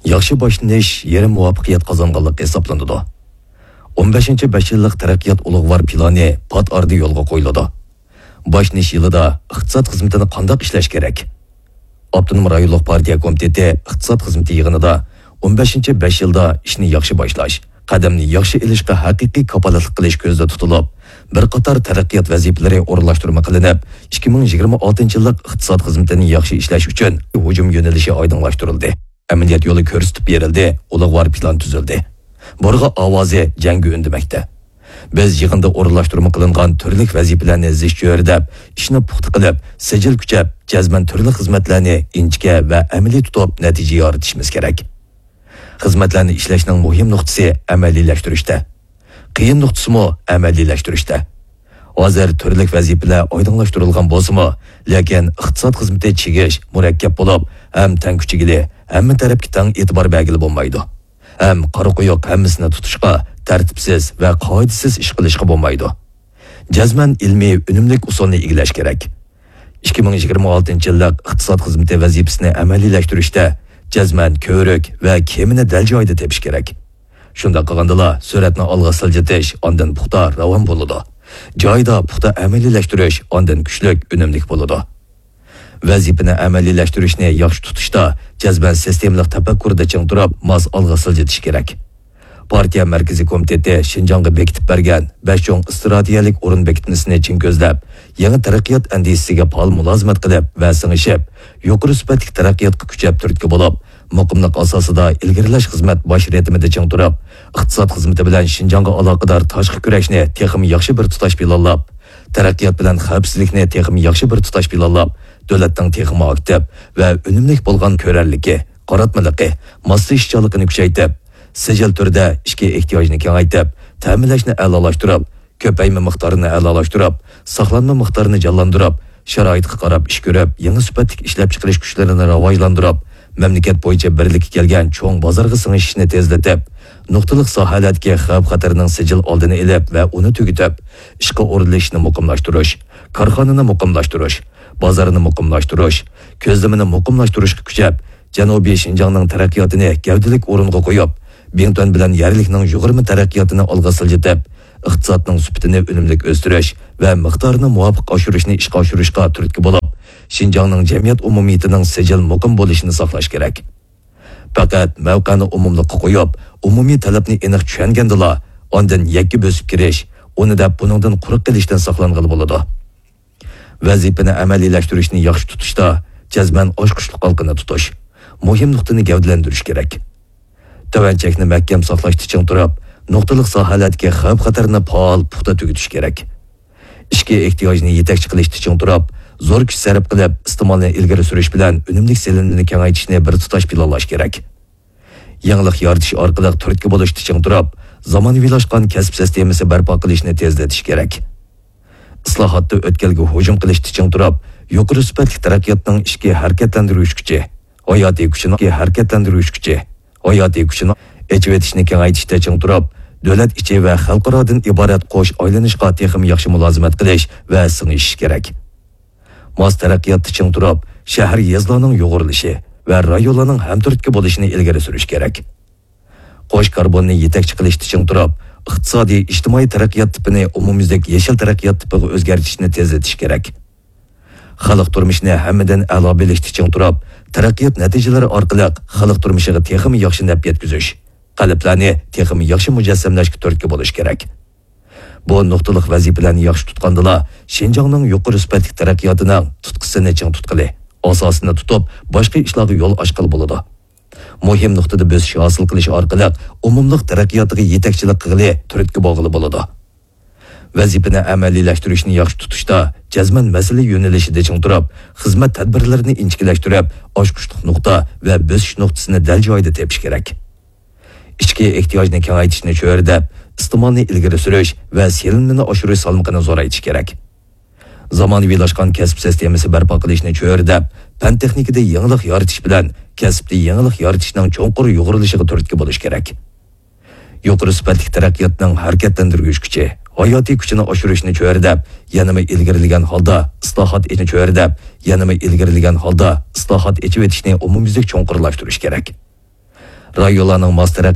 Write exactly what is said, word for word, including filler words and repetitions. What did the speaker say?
ياخشى باشلىنىش يېرىم مۇۋەپپەقىيەت قازانغانلىق ھېسابلىنىدۇ. ئون بەشىنچى بەش يىللىق تەرەققىيات ئۇلۇغۋار پىلانى پات ئارىدا يولغا قويۇلىدۇ. باشلىنىش يىلىدا ئىقتىساد خىزمىتىنى قانداق ئىشلەش كېرەك؟ ئاپتونوم رايونلۇق پارتىيە كومىتېتى ئىقتىساد خىزمىتى يىغىنىدا ئون بەشىنچى بەش يىلدا ئىشنى ياخشى باشلاش، قەدەمنى ياخشى ئېلىشقا ھەقىقىي كاپالەتلىك قىلىش كۆزدە تۇتۇلۇپ، بىر قاتار تەرەققىيات ۋەزىپىلىرى ئورۇنلاشتۇرما قىلىنىپ، ئىككى مىڭ يىگىرمە ئالتىنچى يىللىق ئىقتىساد خىزمىتىنى ياخشى ئىشلەش ئۈچۈن ھۇجۇم يۆنىلىشى ئايدىڭلاشتۇرۇلدى. ئەمەلىيەت يولى كۆرسىتىپ بېرىلدى، ئۇلۇغۋار پىلان تۈزۈلدى. بۇرغا ئاۋازى جەڭگە ئۈندىمەكتە. بىز يىغىندا ئورۇنلاشتۇرما قىلىنغان تۈرلۈك ۋەزىپىلەرنى زىچ چۆرىدەپ، ئىشنى پۇختا قىلىپ، سىجىل كۈچەپ، جەزمەن تۈرلۈك خىزمەتلەرنى ئىنچىكە ۋە ئەمەلىي تۇتۇپ نەتىجە يارىتىشىمىز كېرەك. خىزمەتلەرنى ئىشلەشنىڭ مۇھىم نۇقتىسى ئەمەلىيلەشتۈرۈشتە. قىيىن نۇقتىسىمۇ ئەمەلىيلەشتۈرۈشتە. ھازىر تۈرلۈك ۋەزىپىلەر ئايدىڭلاشتۇرۇلغان بولسىمۇ، لېكىن ئىقتىساد خىزمىتى چىگىش، مۇرەككەپ بولۇپ، ھەم تەڭ كۈچىگىلى، ھەممە تەرەپكە تەڭ ئېتىبار بەرگىلى بولمايدۇ. ھەم قارا قويۇق ھەممىسىنى تۇتۇشقا، تەرتىپسىز ۋە قائىدىسىز ئىش قىلىشقا بولمايدۇ. جەزمەن ئىلمىي، ئۈنۈملۈك ئۇسۇلنى ئىگىلەش كېرەك. ئىككى مىڭ يىگىرمە ئالتىنچى يىللىق ئىقتىساد خىزمىتى ۋەزىپىسىنى ئەمەلىيلەشتۈرۈشتە جەزمەن كۆۋرۈك ۋە كېمىنى دەل جايىدا تېپىش كېرەك. شۇنداق قىلغاندىلا، سۈرئەتنى ئالغا سىلجىتىش، ئاندىن پۇختا، راۋان بولىدۇ. جايىدا پۇختا ئەمەلىيلەشتۈرۈش ئاندىن كۈچلۈك، ئۈنۈملۈك بولىدۇ. ۋەزىپىنى ئەمەلىيلەشتۈرۈشنى ياخشى تۇتۇشتا جەزمەن سىستېمىلىق تەپەككۇردا چىڭ تۇرۇپ، ماس ئالغا سىلجىتىش كېرەك. پارتىيە مەركىزىي كومىتېتى شىنجاڭغا بېكىتىپ بەرگەن بەش چوڭ ئىستراتېگىيەلىك ئورۇن بېكىتمىسىنى چىڭ كۆزلەپ، يېڭى تەرەققىيات ئەندىزىسىگە پائال مۇلازىمەت قىلىپ ۋە سىڭىشىپ، يۇقىرى سۈپەتلىك تەرەققىياتقا كۈچەپ تۈرتكە بولۇپ، مۇقىملىق ئاساسىدا ئىلگىرىلەش خىزمەت باش رىتىمىدا چىڭ تۇرۇپ، ئىقتىساد خىزمىتى بىلەن شىنجاڭغا ئالاقىدار تاشقى كۈرەشنى تېخىمۇ ياخشى بىر تۇتاش پىلانلاپ، تەرەققىيات بىلەن خەۋپسىزلىكنى تېخىمۇ ياخشى بىر تۇتاش پىلانلاپ، دۆلەتنىڭ تېخىمۇ ئاكتىپ ۋە ئۈنۈملۈك بولغان كۆرەرلىكى، قاراتمىلىقى، ماسلىشىشچانلىقىنى كۈچەيتىپ، سىجىل تۈردە ئىچكى ئېھتىياجنى كېڭەيتىپ، تەمىنلەشنى ئەلالاشتۇرۇپ، كۆپەيمە مىقدارىنى ئەلالاشتۇرۇپ، ساقلانما مىقدارىنى جانلاندۇرۇپ، شارائىتقا قاراپ ئىش كۆرۈپ، يېڭى سۈپەتلىك ئىشلەپچىقىرىش كۈچلىرىنى راۋاجلاندۇرۇپ، مەملىكەت بويىچە بىرلىككە كەلگەن چوڭ بازارغا سىڭىشىشنى تېزلىتىپ، نۇقتىلىق ساھەلەردىكى خەۋپ-خەتەرنىڭ سىجىل ئالدىنى ئېلىپ ۋە ئۇنى تۈگىتىپ، ئىشقا ئورۇنلىشىشنى مۇقىملاشتۇرۇش، كارخانىنى مۇقىملاشتۇرۇش، بازارنى مۇقىملاشتۇرۇش، كۆزلىمىنى مۇقىملاشتۇرۇشقا كۈچەپ، جەنۇبىي شىنجاڭنىڭ تەرەققىياتىنى گەۋدىلىك ئورۇنغا قويۇپ، بىڭتۈەن بىلەن يەرلىكنىڭ يۇغۇرما تەرەققىياتىنى ئالغا سىلجىتىپ، ئىقتىسادنىڭ سۈپىتىنى ئۈنۈملۈك ئۆستۈرۈش ۋە مىقدارىنى مۇۋاپىق ئاشۇرۇشنى ئىشقا ئاشۇرۇشقا تۈرتكە بولۇپ، شىنجاڭنىڭ جەمئىيەت ئومۇمىيىتىنىڭ سىجىل مۇقىم بولۇشىنى ساقلاش كېرەك. پەقەت مەۋقەنى ئومۇملۇققا قويۇپ، ئومۇمىي تەلەپنى ئېنىق چۈشەنگەندىلا، ئاندىن يەككە بۆسۈپ كىرىش، ئۇنى دەپ بۇنىڭدىن قۇرۇق قېلىشتىن ساقلانغىلى بولىدۇ. ۋەزىپىنى ئەمەلىيلەشتۈرۈشنى ياخشى تۇتۇشتا جەزمەن ئاچقۇچلۇق ھالقىنى تۇتۇش، مۇھىم نۇقتىنى گەۋدىلەندۈرۈش كېرەك. تۆۋەن چەكنى مەھكەم ساقلاشتا چىڭ تۇرۇپ، نۇقتىلىق ساھەلەردىكى خەۋپ-خەتەرنى پائال، پۇختا تۈگىتىش كېرەك. ئىچكى ئېھتىياجنى يېتەكچى قىلىشتا چىڭ تۇرۇپ، زور كۈچ سەرپ قىلىپ، ئىستېمالنى ئىلگىرى سۈرۈش بىلەن ئۈنۈملۈك سېلىنمىنى كېڭەيتىشنى بىر تۇتاش پىلانلاش كېرەك. يېڭىلىق يارىتىش ئارقىلىق تۈرتكە بولۇشتا چىڭ تۇرۇپ، زامانىۋىلاشقان كەسىپ سىستېمىسى بەرپا قىلىشنى تېزلىتىش كېرەك. ئىسلاھاتتا ئۆتكەلگە ھۇجۇم قىلىشتا چىڭ تۇرۇپ، يۇقىرى سۈپەتلىك تەرەققىياتنىڭ ئىچكى ھەرىكەتلەندۈرگۈچ كۈچى، ھاياتىي كۈچىنىڭ ھەرىكەتلەندۈرگۈچ كۈچى، ھاياتىي كۈچىنىڭ ئېچىۋېتىشنى كېڭەيتىشتە چىڭ تۇرۇپ، دۆلەت ئىچى ۋە خەلقئارادىن ئىبارەت قوش ئايلىنىشقا تېخىمۇ ياخشى مۇلازىمەت قىلىش ۋە سىڭىشىش كېرەك. ماس تەرەققىياتتا چىڭ تۇرۇپ، شەھەر، يېزىلارنىڭ يۇغۇرۇلۇشى ۋە رايونلارنىڭ ھەمتۈرتكە بولۇشىنى ئىلگىرى سۈرۈش كېرەك. قوش كاربوننى يېتەكچى قىلىشتا چىڭ تۇرۇپ، ئىقتىسادىي، ئىجتىمائىي تەرەققىيات تىپىنى ئومۇميۈزلۈك يېشىل تەرەققىيات تىپىغا ئۆزگەرتىشنى تېزلىتىش كېرەك. خەلق تۇرمۇشىنى ھەممىدىن ئەلا بىلىشتە چىڭ تۇرۇپ، تەرەققىيات نەتىجىلىرى ئارقىلىق خەلق تۇرمۇشىغا تېخىمۇ ياخشى نەپ يەتكۈزۈش، قەلبلەرنى تېخىمۇ ياخشى مۇجەسسەملەشكە تۈرتكە بولۇش كېرەك. بۇ نۇقتىلىق ۋەزىپىلەرنى ياخشى تۇتقاندىلا، شىنجاڭنىڭ يۇقىرى سۈپەتلىك تەرەققىياتىنىڭ تۇتقىسىنى چىڭ تۇتقىلى، ئاساسىنى تۇتۇپ، باشقا ئىشلارغا يول ئاچقىلى بولىدۇ. مۇھىم نۇقتىدا بۆسۈش ھاسىل قىلىش ئارقىلىق ئومۇملۇق تەرەققىياتىغا يېتەكچىلىك قىلغىلى، تۈرتكە بولغىلى بولىدۇ. ۋەزىپىنى ئەمەلىيلەشتۈرۈشنى ياخشى تۇتۇشتا جەزمەن مەسىلە يۆنىلىشىدە چىڭ تۇرۇپ، خىزمەت تەدبىرلىرىنى ئىنچىكىلەشتۈرۈپ، ئاچقۇچلۇق نۇقتا ۋە بۆسۈش نۇقتىسىنى دەل جايىدا تېپىش كېرەك. ئىچكى ئېھتىياجنى كېڭەيتىشنى چۆرىدەپ، ئىستېمالنى ئىلگىرى سۈرۈش ۋە سېلىنمىنى ئاشۇرۇش سالمىقىنى زورايتىش كېرەك. زامانىۋىلاشقان كەسىپ سىستېمىسى بەرپا قىلىشنى چۆرىدەپ، پەن-تېخنىكىدا يېڭىلىق يارىتىش بىلەن كەسىپتە يېڭىلىق يارىتىشنىڭ چوڭقۇر يۇغۇرۇلۇشىغا تۈرتكە بولۇش كېرەك. يۇقىرى سۈپەتلىك تەرەققىياتنىڭ ھەرىكەتلەندۈرگۈچ كۈچى، ھاياتىي كۈچىنى ئاشۇرۇشنى چۆرىدەپ، يەنىمۇ ئىلگىرىلىگەن ھالدا ئىسلاھات ئېچىشنى چۆرىدەپ، يەنىمۇ ئىلگىرىلىگەن ھالدا ئىسلاھات ئېچىۋېتىشنى ئومۇميۈزلۈك چوڭقۇرلاشتۇرۇش كېرەك. رايونلارنىڭ ماس تەرەپ